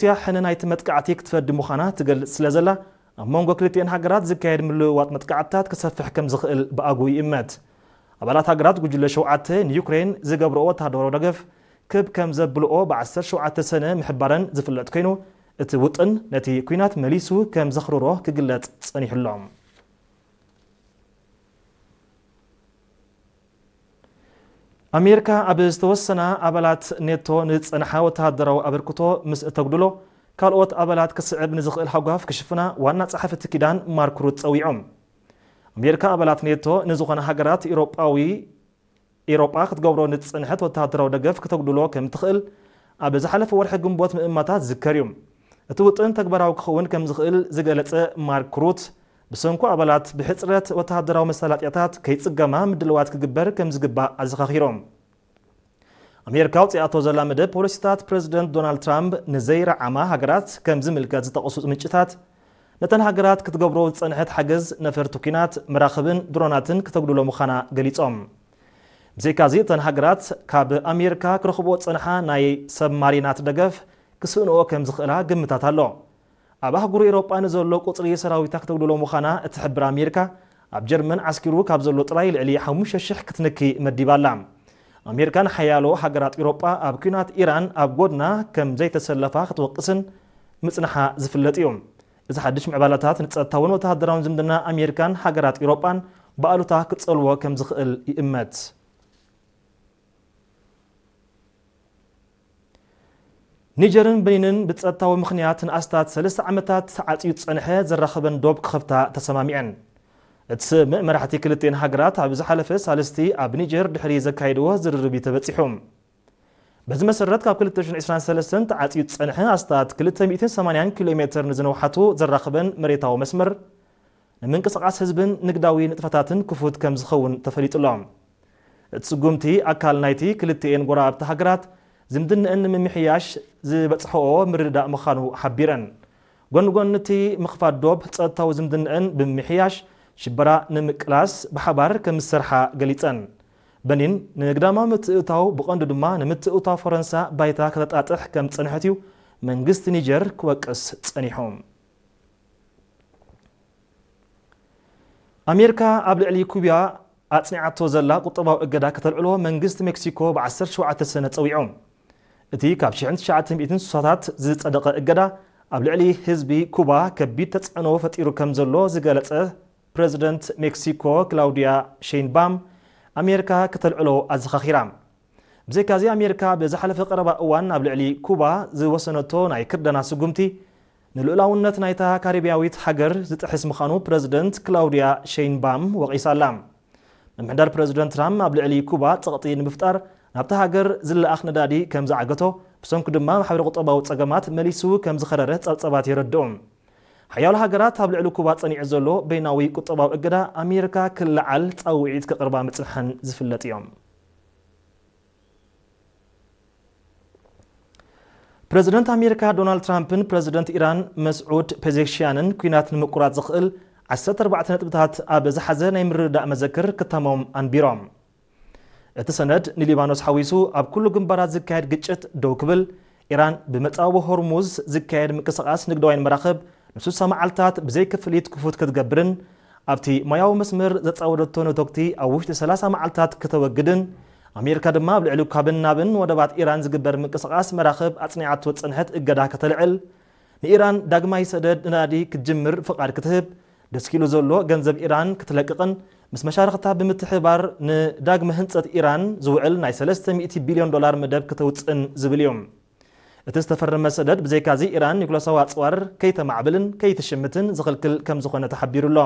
ሩስያ ሕነ ናይቲ መጥቃዕቲ ክትፈዲ ምዃና ትገልጽ ስለ ዘላ፣ ኣብ መንጎ ክልቲኤን ሃገራት ዝካየድ ምልውዋጥ መጥቃዕትታት ክሰፍሕ ከም ዝኽእል ብኣግኡ ይእመት። ኣባላት ሃገራት ጉጅለ ሸውዓተ ንዩክሬን ዝገብርኦ ወተሃደራዊ ደገፍ ክብ ከም ዘብልኦ ብ ዓሰርተ ሸውዓተ ሰነ ምሕባረን ዝፍለጥ ኮይኑ፣ እቲ ውጥን ነቲ ኲናት መሊሱ ከም ዘኽርሮ ክግለጽ ጸኒሑ ኣሎ። ኣሜሪካ ኣብ ዝተወሰና ኣባላት ኔቶ ንዝጸንሓ ወተሃደራዊ ኣበርክቶ ምስ እተጉድሎ፣ ካልኦት ኣባላት ክስዕብ ንዝኽእል ሃጓፍ ክሽፍና ዋና ጸሓፊ እቲ ኪዳን ማርክ ሩት ጸዊዖም። ኣሜሪካ ኣባላት ኔቶ ንዝኾና ሃገራት ኤውሮጳዊ ኤውሮጳ ክትገብሮ ንዝጸንሐት ወተሃደራዊ ደገፍ ክተጉድሎ ከም ትኽእል ኣብ ዝሓለፈ ወርሒ ግንቦት ምእማታ ዝዝከር እዩ። እቲ ውጥን ተግባራዊ ክኸውን ከም ዝኽእል ዝገለጸ ማርክ ሩት፣ ብሰንኩ ኣባላት ብሕጽረት ወተሃደራዊ መሳለጥያታት ከይጽገማ ምድልዋት ክግበር ከም ዝግባእ ኣዘኻኺሮም። ኣሜሪካ ኣውጺኣቶ ዘላ መደብ ፖሊሲታት ፕረዚደንት ዶናልድ ትራምፕ ንዘይረዓማ ሃገራት ከም ዝምልከት ዝጠቕሱ ምንጭታት፣ ነተን ሃገራት ክትገብሮ ዝጸንሐት ሓገዝ ነፈርቲ ኲናት፣ መራኽብን ድሮናትን ክተጉድሎ ምዃና ገሊጾም። ብዘይካዚ፣ እተን ሃገራት ካብ ኣሜሪካ ክረኽብኦ ዝጸንሓ ናይ ሰብማሪናት ደገፍ ክስእንኦ ከም ዝኽእላ ግምታት ኣሎ። ኣብ ኣህጉር ኤውሮጳ ንዘሎ ቁጽሪ ሰራዊታ ክተጉድሎ ምዃና እትሕብር ኣሜሪካ፣ ኣብ ጀርመን ዓስኪሩ ካብ ዘሎ ጥራይ ልዕሊ ሓሙሽተ ሽሕ ክትንኪ መዲባ ኣላ። ኣሜሪካ ንሓያሎ ሃገራት ኤውሮጳ ኣብ ኲናት ኢራን ኣብ ጎድና ከም ዘይተሰለፋ ክትወቅስን ምጽንሓ ዝፍለጥ እዩ። እዚ ሓድሽ ምዕባለታት ንጸጥታውን ወተሃደራውን ዝምድና ኣሜሪካን ሃገራት ኤውሮጳን ብኣሉታ ክጸልዎ ከም ዝኽእል ይእመት። ኒጀርን በኒንን ብጸጥታዊ ምኽንያት ንኣስታት ሰለስተ ዓመታት ተዓጽዩ ዝጸንሐ ዘራኽበን ዶብ ክኸፍታ ተሰማሚዐን። እቲ ስምምዕ መራሕቲ ክልቲኤን ሃገራት ኣብ ዝሓለፈ ሳልስቲ ኣብ ኒጀር ድሕሪ ዘካየድዎ ዝርርብ እዩ ተበጺሑ። በዚ መሰረት ካብ ክልተ ሽሕን ዕስራን ሰለስተን ተዓጽዩ ዝጸንሐ ኣስታት ክልተ ሚእትን ሰማንያን ኪሎ ሜትር ንዝነውሓቱ ዘራኽበን መሬታዊ መስመር ንምንቅስቓስ ህዝብን ንግዳዊ ንጥፈታትን ክፉት ከም ዝኸውን ተፈሊጡ ኣሎ። እቲ ስጉምቲ ኣካል ናይቲ ክልቲኤን ጎረባብቲ ሃገራት ዝምድንአን ንምምሕያሽ ዝበጽሕኦ ምርድዳእ ምዃኑ ሓቢረን። ጎኒ ጎኒ እቲ ምኽፋት ዶብ ጸጥታዊ ዝምድንአን ብምምሕያሽ ሽበራ ንምቅላስ ብሓባር ከም ዝሰርሓ ገሊጸን። በኒን ንግዳማዊ ምትእትታው ብቐንዱ ድማ ንምትእትታው ፈረንሳ ባይታ ከተጣጥሕ ከም ዝጸንሐት እዩ መንግስቲ ኒጀር ክወቅስ ጸኒሑ። ኣሜሪካ ኣብ ልዕሊ ኩባ ኣጽኒዓቶ ዘላ ቁጠባዊ እገዳ ከተልዕሎ መንግስቲ ሜክሲኮ ብ ዓሰርተ ሸውዓተ ሰነ ጸዊዑ። እቲ ካብ ሽሕን ትሽዓተ ሚእትን ስሳታት ዝጸደቐ እገዳ ኣብ ልዕሊ ህዝቢ ኩባ ከቢድ ተጽዕኖ ፈጢሩ ከም ዘሎ ዝገለጸ ፕረዚደንት ሜክሲኮ ክላውዲያ ሼይንባም ኣሜሪካ ከተልዕሎ ኣዘኻኺራ። ብዘይካዚ ኣሜሪካ ብዝሓለፈ ቀረባ እዋን ኣብ ልዕሊ ኩባ ዝወሰነቶ ናይ ክርደና ስጉምቲ ንልኡላውነት ናይታ ካሪብያዊት ሃገር ዝጥሕስ ምዃኑ ፕረዚደንት ክላውዲያ ሼይንባም ወቒሳ ኣላ። ምምሕዳር ፕረዚደንት ትራምፕ ኣብ ልዕሊ ኩባ ጸቕጢ ንምፍጣር ናብታ ሃገር ዝለኣኽ ነዳዲ ከም ዝዓገቶ፣ ብሰንኩ ድማ ማሕበረ ቁጠባዊ ጸገማት መሊሱ ከም ዝኸረረ ጸብጸባት የረድኡ። ሓያሎ ሃገራት ኣብ ልዕሊ ኩባ ጸኒዑ ዘሎ በይናዊ ቁጠባዊ እገዳ ኣሜሪካ ክለዓል ጻውዒት ከቕርባ ምጽንሐን ዝፍለጥ እዮም። ፕረዚደንት ኣሜሪካ ዶናልድ ትራምፕን ፕረዚደንት ኢራን መስዑድ ፔዜሽያንን ኲናት ንምቁራጽ ዝኽእል ዓሰርተ ኣርባዕተ ነጥብታት ኣብ ዝሓዘ ናይ ምርድዳእ መዘክር ክታሞም ኣንቢሮም። እቲ ሰነድ ንሊባኖስ ሓዊሱ ኣብ ኩሉ ግንባራት ዝካየድ ግጭት ደው ክብል፣ ኢራን ብመጻወ ሆርሙዝ ዝካየድ ምንቅስቓስ ንግዳውያን መራኽብ ንስሳ መዓልታት ብዘይ ክፍሊት ክፉት ክትገብርን ኣብቲ ማያዊ መስመር ዘጻወደቶ ነቶግቲ ኣብ ውሽጢ ሰላሳ መዓልታት ከተወግድን ኣሜሪካ ድማ ኣብ ልዕሊ ካብን ናብን ወደባት ኢራን ዝግበር ምንቅስቓስ መራኽብ ኣጽኒዓቶ ዝጸንሐት እገዳ ከተልዕል፣ ንኢራን ዳግማይ ሰደድ ነዳዲ ክትጅምር ፍቓድ ክትህብ፣ ደስኪሉ ዘሎ ገንዘብ ኢራን ክትለቅቕን ምስ መሻርኽታ ብምትሕብባር ንዳግመ ህንጸት ኢራን ዝውዕል ናይ ሰለስተ ሚእቲ ቢልዮን ዶላር መደብ ከተውጽእን ዝብል እዩ። እቲ ዝተፈረመ ሰደድ ብዘይካዚ ኢራን ኒኩለሳዊ ኣጽዋር ከይተማዕብልን ከይትሽምትን ዝኽልክል ከም ዝኾነ ተሓቢሩ ኣሎ።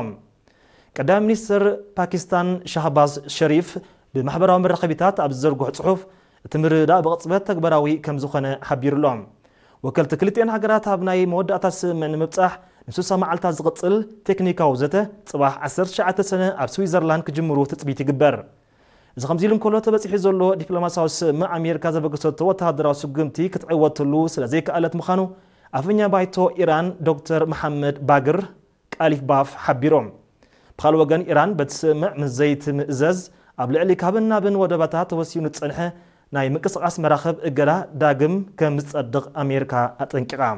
ቀዳማይ ሚኒስትር ፓኪስታን ሻህባዝ ሸሪፍ ብማሕበራዊ መራኸቢታት ኣብ ዝዘርግሖ ጽሑፍ፣ እቲ ምርድዳእ ብቕጽበት ተግባራዊ ከም ዝኾነ ሓቢሩ ኣሎ። ወከልቲ ክልቲኤን ሃገራት ኣብ ናይ መወዳእታ ስምምዕ ንምብጻሕ ንስሳ መዓልታት ዝቕጽል ቴክኒካዊ ዘተ ጽባሕ ዓሰርተ ትሽዓተ ሰነ ኣብ ስዊዘርላንድ ክጅምሩ ትጽቢት ይግበር። እዚ ከምዚ ኢሉ እንከሎ፣ ተበጺሑ ዘሎ ዲፕሎማሲያዊ ስምምዕ ኣሜሪካ ዘበገሰቶ ወተሃደራዊ ስጉምቲ ክትዕወተሉ ስለ ዘይከኣለት ምዃኑ ኣፈኛ ባይቶ ኢራን ዶክተር መሓመድ ባግር ቃሊፍ ባፍ ሓቢሮም። ብኻልእ ወገን፣ ኢራን በቲ ስምምዕ ምስ ዘይትምእዘዝ ኣብ ልዕሊ ካብን ናብን ወደባታ ተወሲኑ ዝጸንሐ ናይ ምንቅስቓስ መራኽብ እገዳ ዳግም ከም ዝጸድቕ ኣሜሪካ ኣጠንቂቓ።